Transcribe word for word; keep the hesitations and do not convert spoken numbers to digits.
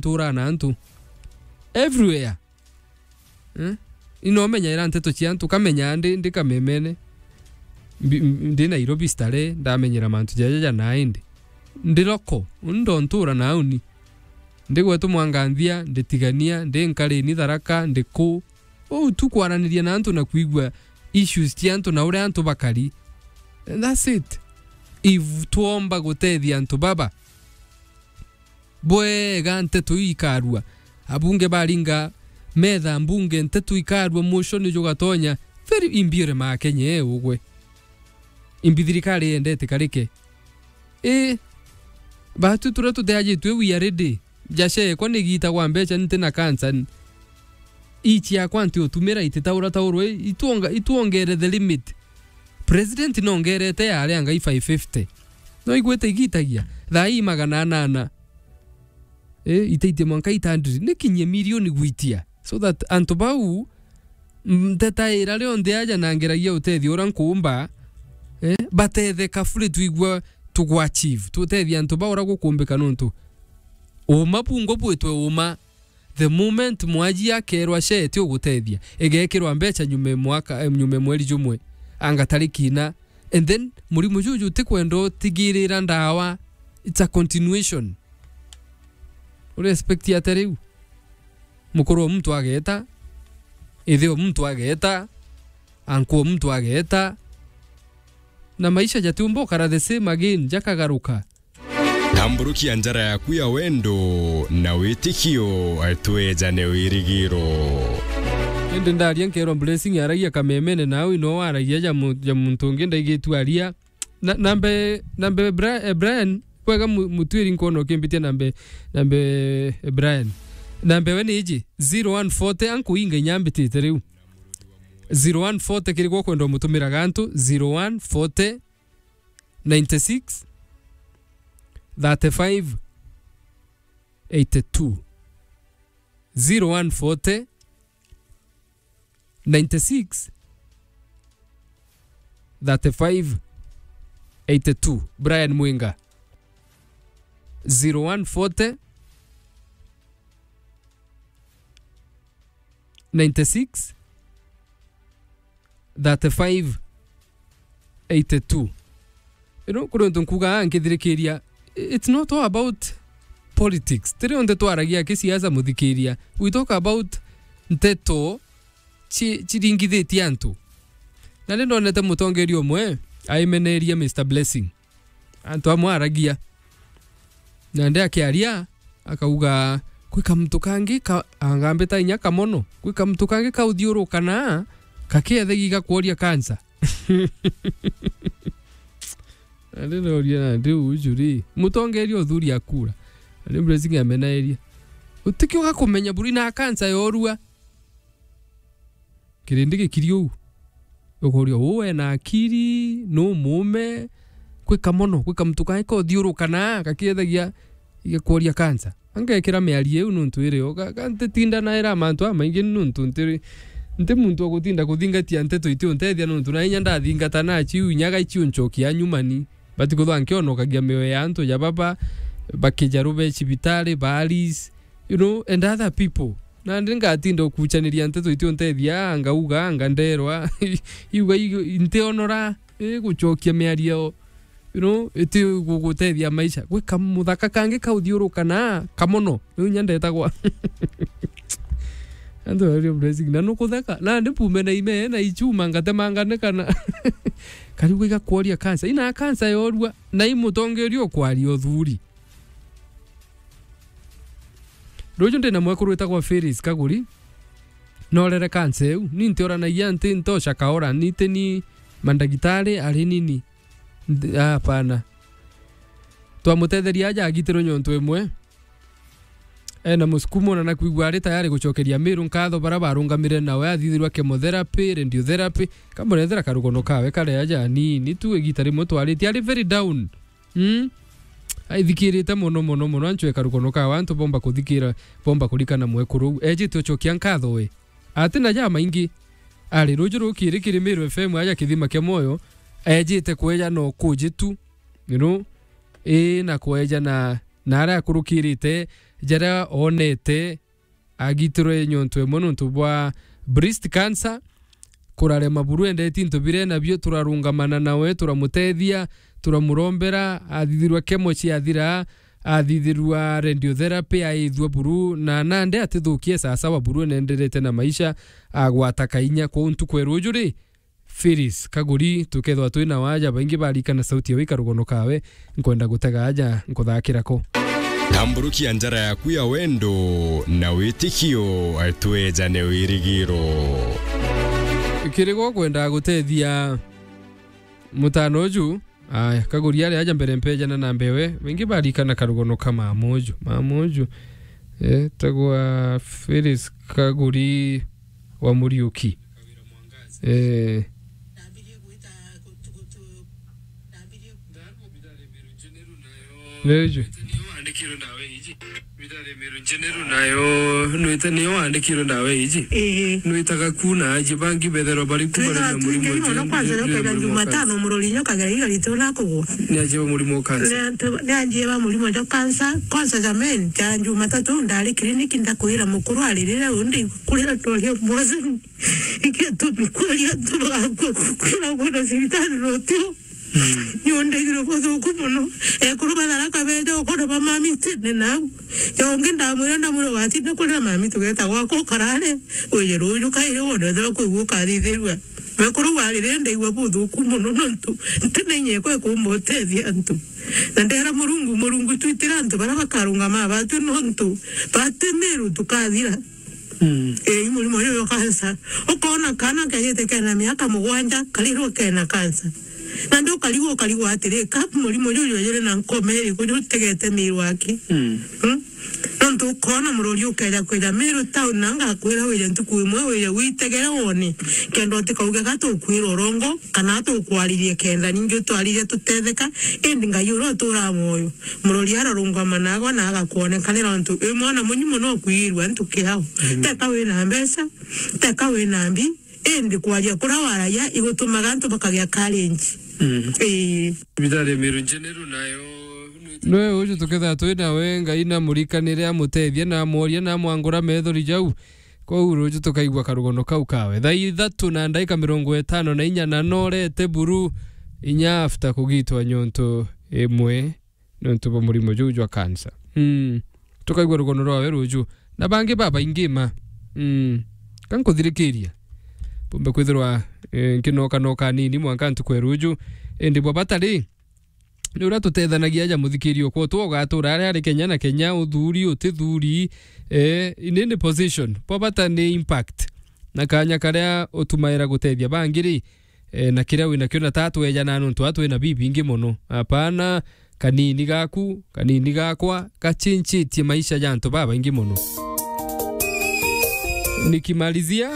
nturaa na antu. Everywhere. Eh? Ino menyaira nteto cia antu, kamenya ndi, ndi Kamemene. Mbi-, m-, ndi Nairobi Starehe, ndamenyera mantu jaja ja naindi. Ndi loko, uni ndontura nauni. Ndi gwetu Mwanganthia, ndi Tigania, ndi Nkarini Tharaka, ndi ku. Uu tu kwaraniria na antu na kwigua issues cia antu na uria antu bakari. And that's it. If twomba gutethia antu baba, bwega nteto iu ikarua. Abunge baringa metha mbunge, nteto ikarua, mwisho ni jugatonya. Very imbiure ma Kenya, eh, ugwe. Imbi thirikari yendete karike. Eh, batu turia tuteajitwe we are ready. Jacekwa ni giita gwa mbeca, nti na cancer. Ichi yakwa nti utumira ititaura taurwe, ituonga-, ituongere the limit. President nongerete yare angai five fifty. No igwite igitagia. Thaa ii magana anana. Eh, itaitie mwanka eight hundred. Nikinyie milioni gwitia. So that antu bau, mm, ntetaira rionthe aja na ngeragia utethio uria nkuumba, eh, batetheka buri twigua tugu achieve. Tutethia antu bau uria gukumbika nontu uma bungo bwitwe uma. The moment mwaji akerwa share ti ugutethia, igekirwa mbeca nyume mwaka, eh, nyume mweri jumwe, anga tariki ina, and then murimu juju utikwenda utigirira ndawa, it's a continuation. Uri expect ata riu? Mukuru o muntu ageta, ithe o muntu ageta, anku o muntu ageta, na maisha jatiumba ukara the same again, jakagaruka. Tamburukia njara yaku ya wendo na witikio, twejane wirigiro. Indi ndaria nkerwa Blessing aragia Kamemene, nawe no waragia ja mu-, ja muntu ungi ndaigitu aria. Na, nambe, nambe Bra-, eh, Brian, kwega mu-, mutwiri nkono ukimbitia nambe, nambe, eh, Brian. Nambe we ni iji, zero one forty, ankuinga inyambitite riu. Zero one forty kiri gwa kwenda umutumira gantu, zero one forty, ninety-six, thirty-five, eighty-two. Zero one forty, ninety-six, thirty-five, eighty-two. Brian Mwinga. Zero one forty, ninety-six, thirty-five, eighty-two. You know, kuri untu nkuuga aa nkithirikiria, it's not all about politics. Tiri onthe twaragia kisiasa, muthikiria. We talk about nteto ci-, ciringithitie antu. Na ni ndonete mutongeria umwe aimeneria Mister Blessing. Antu amwe aragia. Na ndi akiaria, akauga, "Kwi kamuntu kangi ka-," angambita inya kamono, "Kwi kamuntu kangi kauthiuruka na kakiethegi gakworia kansa." Na ndi noria na ndi uju ri, mutongeria uthuri akura. Na ndi Blessing amenaeria. Utikioga kumenya buri na kansa yorua. Kirindi gikiri uu. Ukuria, uu ena akiri, nu muume, kwi kamono, kwi kamuntu kae kauthiuruka na gakiethagia igakworia kansa. Angekira miario iu nuntu iri o, ga-, ga-, ntitinda naira mantu amaingi nuntu ntiri, nti muntu wa gutinda kuthingatia nteto itiuntethia nuntu na inya ndathingata nacio iu inya gaicio ncokia nyumani. Bati kuthwa nkionokagia mioyo ya antu ja baba, bakija rube cibitari, baaris, you know, and other people. Nandi ngatinda ukuchaniria nteto itiuntethia, ngauga, anga nderwa, iuga, iu-, ntionora, eh, gucokia miario, you know, iti gugutethia maisha. Gwi kamuthaka kangi kauthiuruka na kamono. Riu inya ndetagwa. Antu bario Blessing, na nukutheka. Nandi pume na ime, na ichuma, ngatemangane kana. Kariu gigakworia kansa. Ina kansa yorua, na i mutongeria ukwaria uthuri. Ruju ndi na mwekuru witagwa Phyllis Kaguri. Norere kansa iu. Ni ntioranagia nti ntoca kaora. Ni ti ni mandagitari ari nini. Ndi-, hapana. Twamutetheria aja agitirwe nyontu imwe. Ena musukumo na nakwigua ari tayari gucokeria Miru nkatho bara barungamire nawe athithirwa chemotherapy, radiotherapy. Kamurethera karugono kawe kare aja anini tu igita rimwe twaritie. Ari very down. Mm. Aithikirite mono, mono, mono, anchwe karugono kawe, antu bomba kuthikira, bomba kurikana mwekuru uu. Ejite ucokia nkatho we. Ati na ja maingi. Ari ruju rukiri kiri Miru F M aja kithima kia moyo, ejite kweja no kuji tu, you know, ii na kweja na, na aria akurukirite, jaria oonete agitirwe nyontu emwe nontu bwa breast cancer, kurarema buru endeti into bire nabio, turarungamana nawe, turamutethia, turamurombera, athithirwa chemo ciathira, athithirwa radiotherapy, aithua buru, na nande atithukie sasawa buru, nenderete na maisha, agwata kainya. Kwou ntuku ya ruju ri, Phyllis Kaguri, tukethwa twi na waja, baingi barikana sauti yawe ikarugono kawe, nkwenda gutega aja, nkuthakira ko. Tamburukia njara yaku ya wendo na witikio, twejane wirigiro. Kiri gwa kwenda gutethia mutano uju, aya, Kaguri ari aja mbere mpejana na mbewe, baingi barikana karugono ka mama uju, mama uju, eh, tagwa Phyllis Kaguri wa Muriuki. Eh. Ndio hicho. Nayo, nwita niyo wandikirwe ndawa iji. Ii. Nwitaga ku na aji bangi betherwa bari kumarania murimo. Twina twingi mono, kwanza nyokaira Jumatano, murori nyokagira igari tu na kugura. Ni aji ba murimo wa cancer. Ni antu, ni anjie ba murimo jwa cancer, kwanza jameni, ja Jumatatu ndari kiriniki ndakwira mukuru aririre undi kurira twaria mbozi. Iketumi kwaria tu bagakua, kwira kwenda cibitari rutio. Mm. Ni undegire buthuku mono. Ekuru ba Tharaka beja ukona ba mami tene nau. Jongi ndamwira, ndamwira, watinda kurira mami tugeta gwakwa ukarare. Wije ruju kairi wone ethirwa kwigua ukathithirua. Ekuru warire ndaigua buthuku mono nontu ntimenye kwe kumba utethia antu. Na ndera Murungu, Murungu twitira antu bara bakarungama batu nontu bati miru tukathira. Mm. Ii, murimo uyu wa cancer. Ukona kana kajite kena miaka mugwanja, karirwo kena cancer. Na ndu ukarigwo, ukarigwo atiri, ka murimo uyu jwejire na nkoma iriku jutegete miru aki? Mm. Mm? Nontu ukona murori ukeja kwija miru town, na ngakwira wije ntuku imwe wije witegere wone, kenda utikauge ga tukwira urongo, kana tukwaririe kenda ningi utwaririe tutetheka, indi Ngai uria uturaa mwoyo. Murori ararungama nagwa na agakwonekana nontu wi mwana munyi mono ukwirwa antu kiao. Mm. Teka wina mbeca, teka wina mbi, indi kwaria kuria waragia igutumaga antu bakagia courage. Mm. Ii. Thibitari ya Meru General nayo. Nwe uju tuketha twi nawe, Ngai na murikanire, amutethie na amworia na amwangura methori jau. Kwou ruju tukaigua karugono kau kawe. Thaa ithatu na ndaika mirongo itano na inya na norete buru inya after kugitwa nyontu imwe. Nontu bwa murimo juu jwa cancer. Mm. Tukaigua rugono rwawe ruju. Na bangi babaingi ma. Mm. Kankuthirikiria. Bumbe kwithirwa, eh, nkinoka noka nini mwanka ntuku ya ruju. Indi bwa bata ri, ni uria tutethanagia aja muthikiri okwo tu ugatura aria ari Kenya na Kenya, uthuri, utithuri, eh, in any position. Bwa bata ni impact. Na kanya karia utumaira gutethia bangi ri, eh, na kiria wina kio na tatu ejana nontu atu ina bibingi mono. Hapana, kanini gaku, kanini gakwa, gachinchitie maisha ja antu babaingi mono. Nikimalizia,